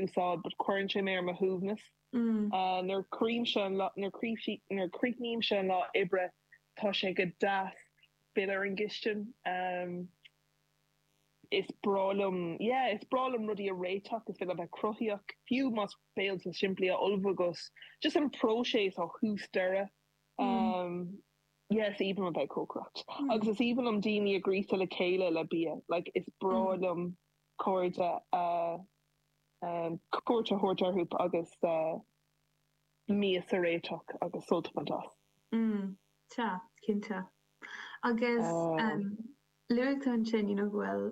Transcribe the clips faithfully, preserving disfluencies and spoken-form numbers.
úsáid, but cuireann sé mé ar mo shuaimhneas. Nuair chríochnaímse an lá, nuair nuair chríochnaímse an lá oibre, tá sé go deas filleadh ar an gcistin. Is breá liom, yeah, is breá liom rudaí a réiteach, is féidir liom bheith cruthaíoch, fiú más béilte simplí a ullmhú agus just an próiseas ó thús deireadh. Yeah, is aoibhinn liom bheith ag cócaireacht. Agus is aoibhinn liom daoine a ghríosadh le chéile le bia. Like, is breá liom cairde a cuairt a thabhairt orthu agus mias a réiteach agus sult a bhaint as. Mm, sea, cinnte. Agus luaigh tú ansin, you know, go bhfuil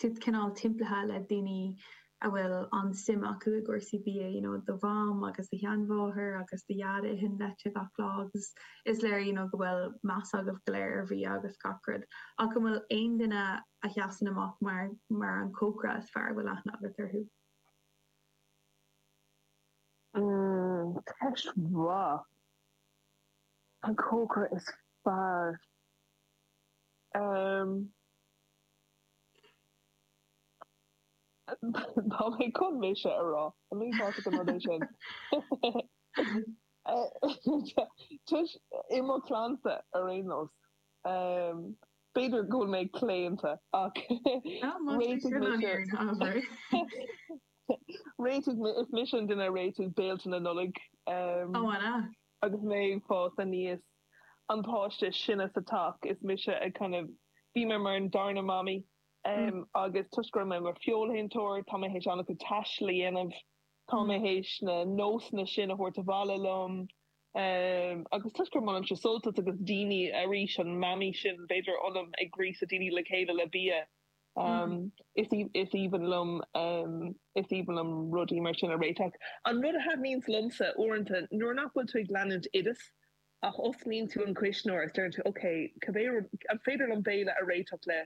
tú cineál timpeallaithe le daoine a bhfuil an-suim acu i gcúrsaí bia, you know, do mham agus do sheanmháthair agus do dhaid a itheann leat gach lá agus is léir, you know, go bhfuil meas agaibh go léir ar bhia agus gach rud. Ach an bhfuil aon duine a sheasann amach mar mar an cócaire is fearr a bhfuil aithne agat orthu? Mm, ceist mhaith. An cócaire is fearr. Um, Tá mé chun mise a rá. An uafásach an rud é sin? Toisc i mo chlannsa ar aon nós. B'fhéidir go bhfuil mé claonta ach réitigh mise réitigh is mise an duine a réitigh béilte na Nollag agus mé ag fás aníos. An páiste is sine sa teach is mise a kind of bhí mé mar an darna mamaí. Agus toisc go raibh mé i mo fheoilshéantóir, tá mé théis an-chuid taistil a dhéanamh, tá mé théis na nósanna sin a thabhairt abhaile liom. Agus toisc gur maith liomsa sult agus daoine, arís, an mamaí sin, b'fhéidir, ionam ag gríosadh daoine le chéile le bia. Is aoibhinn liom, is aoibhinn liom rudaí mar sin a réiteach. An rud a thaitníonns liomsa uaireanta, nuair nach bhfuil tú ag leanúint oideas, ach osclaíonn tú an cuisneoir is deireann tú, ok, cibé rud, an féidir liom béile a réiteach le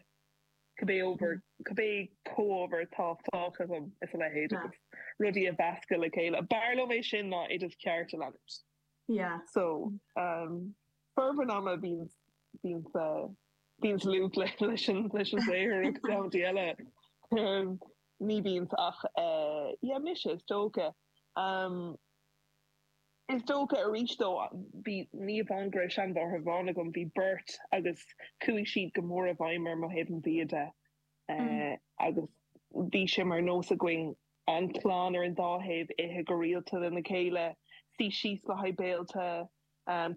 cibé ábhar, cibé comhábhar atá fágtha agam is a leithéid agus rudaí a mheascadh le chéile. B'fhearr liom é sin ná oideas ceart a leanúint. Yeah. So, um, formhór an ama bíonn, bíonn, bíonn luach le, leis an, leis an saothar agus amantaí eile um, ní bhíonn ach, uh, yeah, mise is dócha. Um, Is dócha arís dó, bhí, ní amháin go raibh seanmháthair amháin agam, bhí beirt agus chuaigh siad go mór i bhfeidhm orm ó thaobh an bhia de agus bhí sé mar nós againn an chlann ar an dá thaobh ithe go rialta lena chéile, suí síos le haghaidh béilte,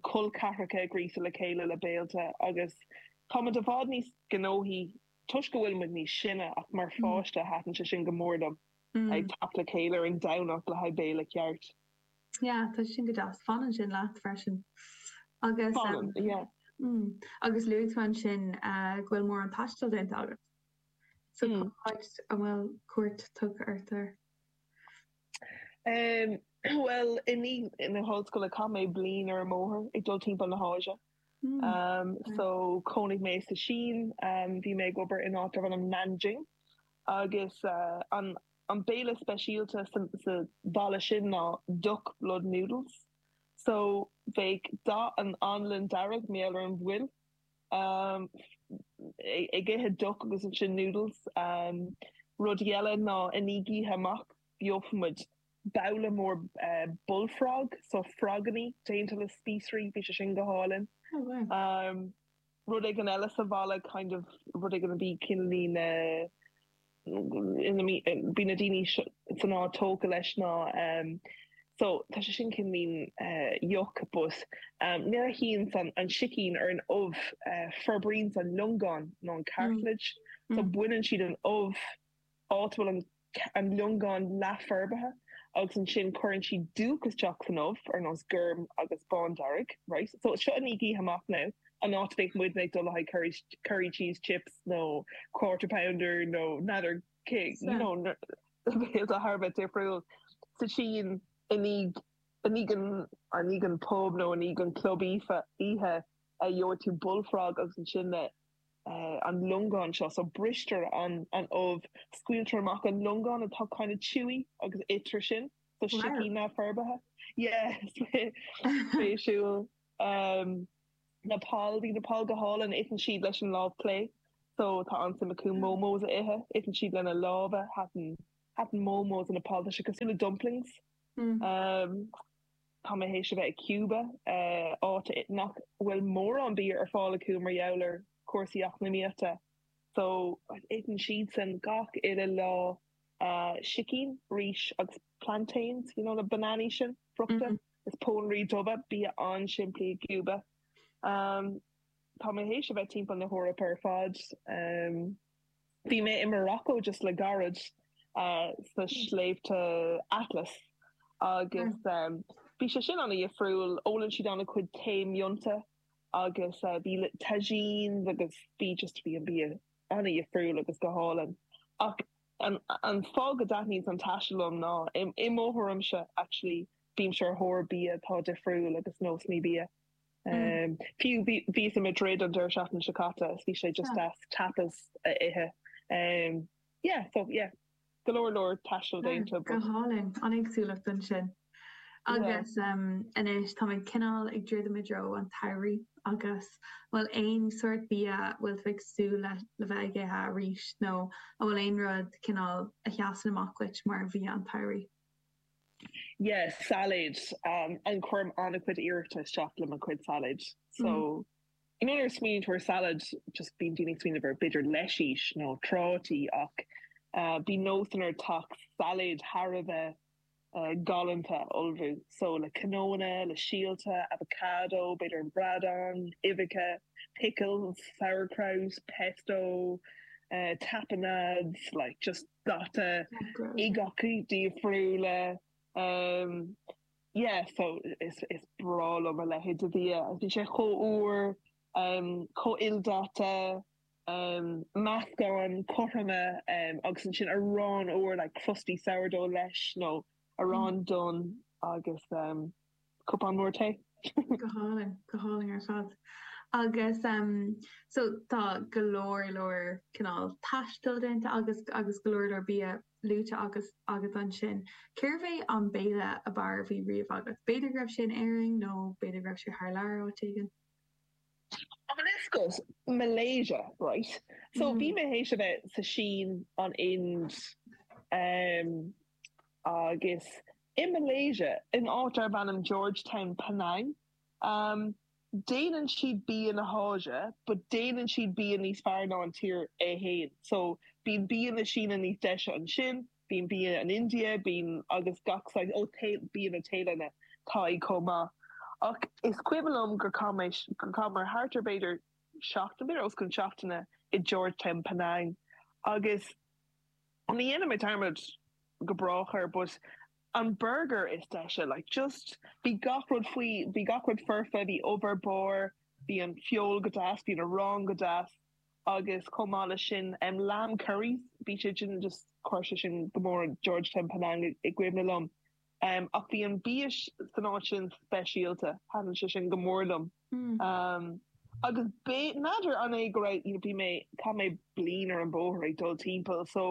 col ceathracha a ghríosadh le chéile le béilte agus tá muid i bhfad níos gnóthaí toisc go bhfuil muid níos sine ach mar pháiste thaitin sé sin go mór liom, ag teacht le chéile ar an Domhnach le haghaidh béile ceart. Yeah, tá sin go deas. Fanann sin leat freisin. Agus Fanann, yeah. Mm. Agus luaigh tú ansin uh, go bhfuil mórán taistil déanta agat. So mm. cá háit a bhfuil cuairt tugtha ort air? Um, well, i ndiaidh na hollscoile chaith mé bliain ar an mbóthar ag dul timpeall na hÁise. Mm. Um, so chónaigh mé sa Sín, um, bhí mé ag obair in áit darb ainm Nanjing agus uh, an An béile speisialta sa bhaile sin ná duck blood noodles. So bheadh dath an anlann dearg, mar gheall ar an bhfuil, ag ithe duck agus ansin noodles. Rud eile ná i ndiaidh oíche amach gheobhadh muid babhla mór bullfrog, so frogannaí déanta le spíosraí, bhí sé sin go hálainn. Rud éigin eile sa bhaile kind of rud éigin a bhí cineál na ina bhí na daoine san áit tógtha leis ná so tá sé sin cineáilín yuck but nuair a shuíonns an an sicín ar an ubh forbraíonns an liongán nó an cartilage so baineann siad an ubh áit a bhfuil an an liongán leathfhorbartha agus ansin cuireann siad dúch isteach san ubh ar nós gorm agus bándearg right so seo i ndiaidh oíche amach now an áit a mbeadh muidne ag dul le haghaidh curry, curry cheese chips nó quarter pounder nó n'fheadar cé you know béilte thar a bheith difriúil sa tSín i ndiaidh i ndiaidh an i ndiaidh an pub nó i ndiaidh an club oíche oíche a gheobhaidh tú bullfrog agus ansin na an liongán seo, so bristear an an ubh, scaoiltear amach an liongán atá kind of chewy agus itear sin, so sicín neamhfhorbartha. Yeah, spéisiúil. Um, Nepal, bhí Nepal go hálainn, itheann siad leis an lámh clé, so tá an-suim acu momos a ithe, itheann siad lena lámha, thaitin Thaitin momos i Nepal, tá sé cosúil le dumplings. Um, tá mé théis a bheith i Cuba, uh, áit nach bhfuil mórán bia ar fáil acu mar gheall ar cúrsaí eacnamaíochta. So itheann siadsan gach uile lá uh, sicín, rís agus plantains, you know, na bananaí sin, friochta, mm -hmm. is pónairí dubha bia an-simplí i gCuba. Um, tá mé théis a bheith timpeall na hEorpa ar fad. Um, bhí mé i Morocco just le gairid uh, sna sléibhte Atlas agus um, bhí sé sin an-difriúil ólann siad an-chuid tae mionta agus uh, bhí tagines agus bhí just bhí an bia an-difriúil agus go hálainn. Ach an, an fáth go dtaitníonn an taisteal liom ná i mo thuairimse actually bímse ar thóir bia atá difriúil agus nósanna bia. Um, fiú bhí i Madrid an deireadh seachtaine seo caite bhí sé just as tapas a ithe. Um, yeah, so yeah, go leor leor taistil déanta. Go hálainn an éagsúlacht ansin. Agus um, anois tá mé cineál ag druidim i dtreo an tsamhraidh agus bhfuil aon sórt bia bhfuil tú ag súil le le bheith ag ithe arís nó an bhfuil aon rud cineál a sheasann amach duit mar bhia an tsamhraidh. Yes, salad um, an cuirim an-chuid iarrachta isteach le mo chuid salad. So mm. you know smaoiníonn tú ar salad just bíonn daoine smaoineamh ar b'fhéidir leisís nó trátaí ach uh, bhí nós ar teach salad thar a bheith uh, galánta a ullmhú. So le cnónna, le síolta, avocado, b'fhéidir an bradán, uibheacha, pickles, sauerkraut, pesto, uh, tapenades, like just dath uibheacha difriúla. Um, yeah, so is, is breá liom a leithéid de bhia. Bhí sé chomh úr, um, chomh ildaite, um, meascán cothroma um, agus ansin arán úr like crusty sourdough leis nó arán mm. donn agus um, cupán mór tae. Go hálainn, go hálainn ar fad. Agus um, so tá go leor leor cineál taistil déanta agus agus go leor leor bia luaite agus agus ansin. Cérbh é an béile ab fhearr a bhí riamh agat. B'fhéidir go raibh sé in Éirinn nó b'fhéidir go raibh sé thar lear áit éigin. Is Malaysia, right? So bhí mm. mé théis a bheith sa Sín an Ind um, agus i Malaysia in áit darb ainm Georgetown Penang. Um, déanann siad bia na hÁise, but déanann siad bia níos fearr ná an tír é féin. So bíonn bia na Síne níos deise ansin, bíonn bia an India, bíonn agus gach ó bia na Téalainne tá chomh maith. Ach is cuimhin liom gur gur chaitheamar thart ar b'fhéidir seachtain b'fhéidir os cionn seachtaine i Georgetown Penang. Agus ní dhéanfaidh mé dearmad go brách air, but an burger is deise like just bhí gach rud faoi bhí gach rud foirfe bhí ubh ar barr bhí an feoil go deas bhí an arán go deas agus chomh maith leis sin um, lamb curries bhí sé sin just chuir sé sin go mór Georgetown Penang i gcuimhne liom. Um, ach bhí an bia san áit sin speisialta thaitin sé sin go mór liom. Mm. Um, agus n'fheadar an é go raibh you know, bhí mé chaith mé bliain ar an bóthar ag dul timpeall so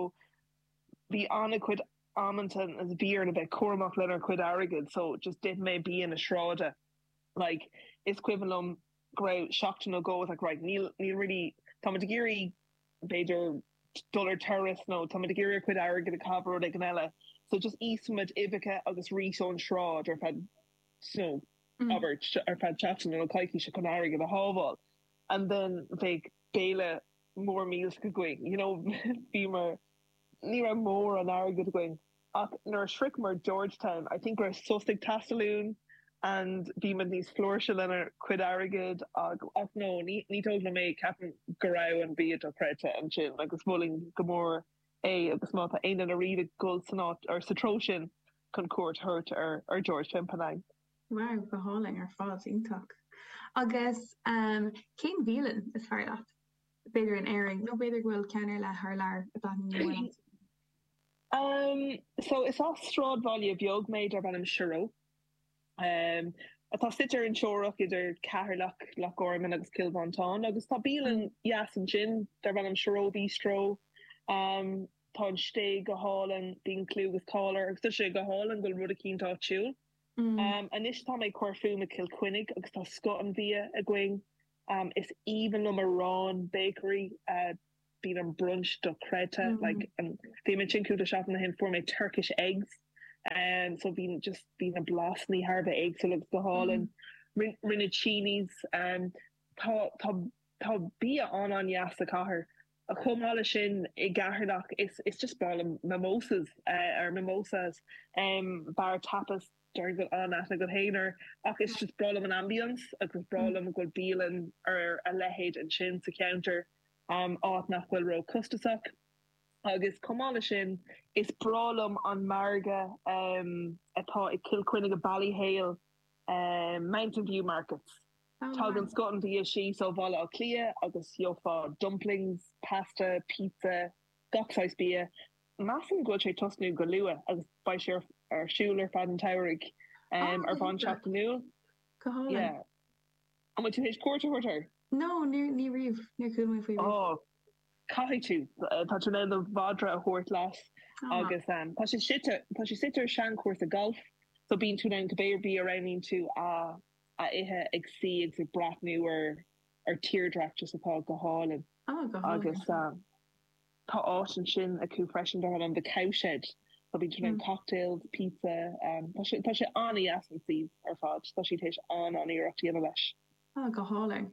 bhí an-chuid amanta as bhí a bheith cúramach lenár cuid airgid so just d'ith mé bia na sráide like is cuimhin liom go raibh seachtain nó go like right níl níl really tá ag iarraidh b'fhéidir dul ar turas nó tá ag iarraidh cuid airgid a chaitheamh rud éigin eile so just íosfaimid uibheacha agus rís ón sráid ar feadh so mm. abair ar feadh seachtain nó coicíse chun airgead a shábháil and then bheadh béile mór millteach againn you know bhí mar ní raibh mórán airgid againn ach nuair a shroicheamar Georgetown I think raibh sos ag teastáil uainn and bhí muid níos flúirse lenár cuid airgid ag ach no ní ní dóigh liom é ceapaim go raibh an bia dochreidte ansin agus mholfainn go mór é agus má tá aon duine riamh ag dul san áit or sa treo sin chun cuairt a thabhairt ar ar Georgetown Penang. Wow, go hálainn ar fad iontach. Agus um, cén bhialann is fearr leat? B'fhéidir in Éirinn nó b'fhéidir go bhfuil ceann ar leith thar lear a dtaitníonn Um, so is as sráidbhaile beag mé darb ainm Sero. Um, atá suite ar an teorainn idir Ceatharlach Loch Garman agus Cill Mhantáin agus tá bialann dheas ansin darb ainm Sero Bistro. Um, tá an sté go hálainn bíonn clú agus cáil air agus tá sé go hálainn go bhfuil rud éicint áitiúil. Mm. Um, anois tá mé ag cur fúm i Cill Chainnigh agus tá scoth an bhia againn. Um, is aoibhinn liom arán bakery uh, bíonn an brunch dochreidte like an bhí mé ansin cúpla seachtain ó shin fuair mé Turkish eggs um, so bhí just bhí na blasanna thar a bheith éagsúil agus go hálainn. Rinne Chinese um, tá tá tá bia an an-deas sa chathair. Chomh maith leis sin i gCeatharlach is is just breá liom mimosas uh, ar mimosas um, bar tapas déarfainn go bhfuil an-aithne agat féin air ach is just breá liom an ambience agus breá liom go bhfuil bialann ar a leithéid ansin sa cheantar um, áit nach bhfuil ró-chostasach. Agus chomh maith leis sin is breá liom an margadh um, atá i Cill Chainnigh i Ballyhale um, Mountain View Markets. Tagann scoth an bhia síos ó Bhaile Átha Cliath agus gheofá dumplings, pasta, pizza, gach saghas bia. Measaim go bhfuil sé tosnú go luath agus beidh sé ar siúl ar feadh an tsamhraidh um, ar bhonn seachtainiúil. Go hálainn. Yeah. An bhfuil tú théis cuairt a thabhairt air? No, ní ní riamh, níor chuala mé faoi riamh. Oh, caithfidh tú. Tá tú in ann do mhadra a thabhairt leat agus um, tá sé suite tá sé suite ar seanchúrsa golf, so bíonn tú in ann cibé ar bith a roghnaíonn tú a a ithe ag suí agus ag breathnú ar ar tírdhreach just atá go hálainn. Oh, go hálainn. Agus um, tá áit ansin acu freisin dar ainm The Cowshed. So bíonn tú in ann cocktails, pizza, um, tá sé tá sé an-deas an suíomh ar fad. Tá siad théis an-an-iarracht a dhéanamh leis. Oh, go hálainn.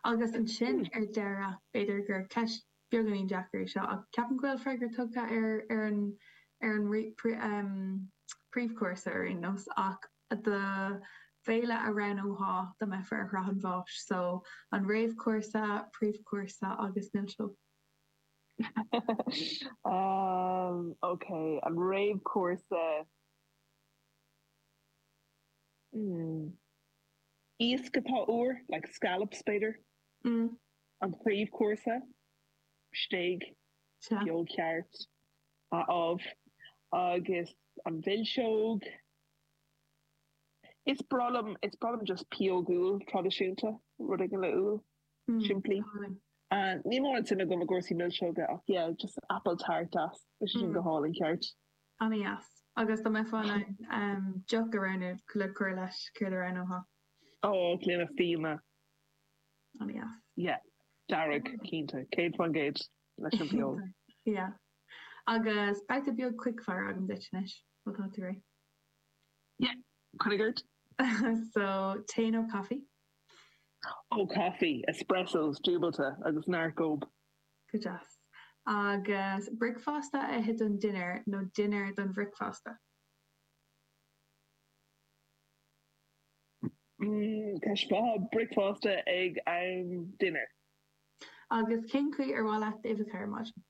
Agus ansin ar deireadh, b'fhéidir gur ceist beagáinín deacair é seo ach ceapaim go bhfuil freagra tugtha ar ar an ar an um, príomhchúrsa ar aon nós ach do bhéile a roghnófá dá mbeifeá ar shraith an bháis, so an réamhchúrsa, príomhchúrsa agus milseog. um, okay, an réamhchúrsa hmm. Iasc atá úr, like scallops b'fhéidir. Mm. An príomhchúrsa, stéig, feoil cheart, amh agus an mhilseog. Is breá liom is breá liom just pióg úll traidisiúnta, rud éigin le úll, simplí. Níl mórán suim agam i gcúrsaí milseoga ach yeah, just apple tart as, bheadh sé sin go hálainn ceart. An-deas. Agus dá mbeifeá in ann deoch a roghnú le cur leis, céard a roghnófá? Ó, gloine fíona. An-deas. Yeah, dearg, cinnte, céad faoin gcéad leis an bhfeoil. Yeah. Agus babhta beag quickfire agam duit anois, má tá tú réidh. Yeah, coinnigh ort. So, tae nó caife? Ó, caife, espressos, dúbailte agus neart gob. Go deas. Agus bricfeasta a ithe don dinnéar nó dinnéar don bhricfeasta? Mm, ceist mhaith, bricfeasta ag am dinnéir. Agus cén chaoi ar mhaith leat d'uibheacha ar maidin?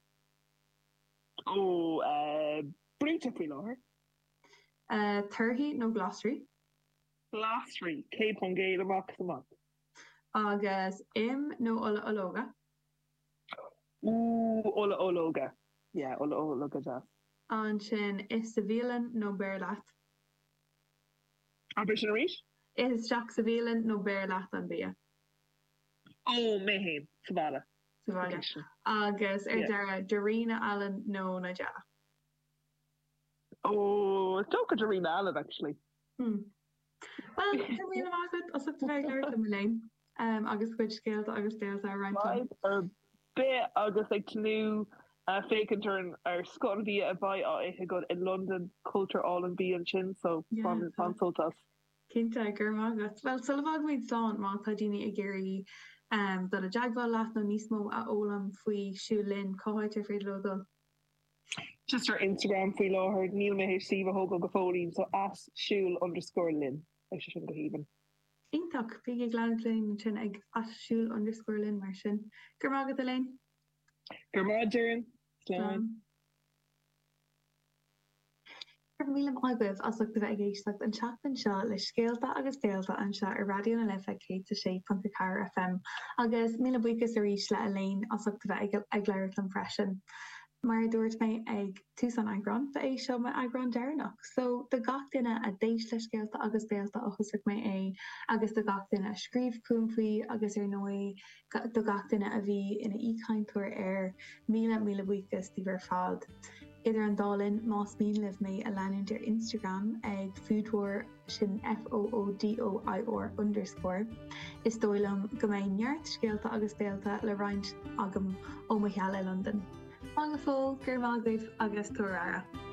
Ó, brúite faoi láthair. Torthaí nó glasraí? Glasraí, céad faoin gcéad amach is amach. Agus im nó ola ológa? Ooh, ola ológa. Yeah, ola ológa deas. Ansin, ith sa bhialann nó beir leat? Abair sin arís? Ith isteach sa bhialann nó beir leat an bia? Ó, mé féin, sa bhaile. Sa bhaile. Agus ar deireadh, Darina Allen nó Nigella? Ó, is dócha Darina Allen, actually. Hmm. Bhuel, go raibh míle maith agat as ucht a bheith ag labhairt liom, Elaine, agus do chuid scéalta agus béalta a roinnt liom. Fadhb ar bith agus ag tnúth féachaint ar an ar scoth an bhia a bheidh á ithe agat i Londain, cultúr álainn bia ansin, so bain bain sult as. Cinnte, go raibh maith agat. Bhuel, sula bhfágaimid slán, má tá daoine ag iarraidh dul i dteagmháil leat nó níos mó a fhoghlaim faoi Siúil Linn, cá háit ar féidir leo dul? Just ar Instagram faoi láthair, níl mé théis suíomh a thógáil go fóillín, so at siúil underscore linn, beidh sé sin go haoibhinn. Iontach! Bígí ag leanacht linn ansin ag at siúil underscore linn mar sin. Go raibh maith agat Elaine! Go raibh maith Doireann! Slán! Slán! Go raibh míle maith agaibh as ucht a bheith ag éisteacht an tseachtain seo le Scéalta agus Béalta anseo ar Raidió na Life céad a sé ponc a ceathair FM agus míle buíochas arís le Elaine as ucht a bheith ag labhairt liom freisin. Mar a dúirt mé ag tús an eagráin, ba é seo m'eagrán deireanach. So, do gach duine a d'éist le Scéalta agus Béalta ó thosaigh mé é agus do gach duine a scríobh chugam faoi agus ar ndóigh do gach duine a bhí ina aoichainteoir air, míle míle buíochas daoibh ar fad. Idir an dá linn más mian libh mé a leanúint ar Instagram ag foodor sin F O O D O I R underscore. Is dóigh liom go mbeidh neart scéalta agus béilte le roinnt agam ó mo sheal i Londain. Slán go fóill, go raibh maith agaibh agus tabhair aire.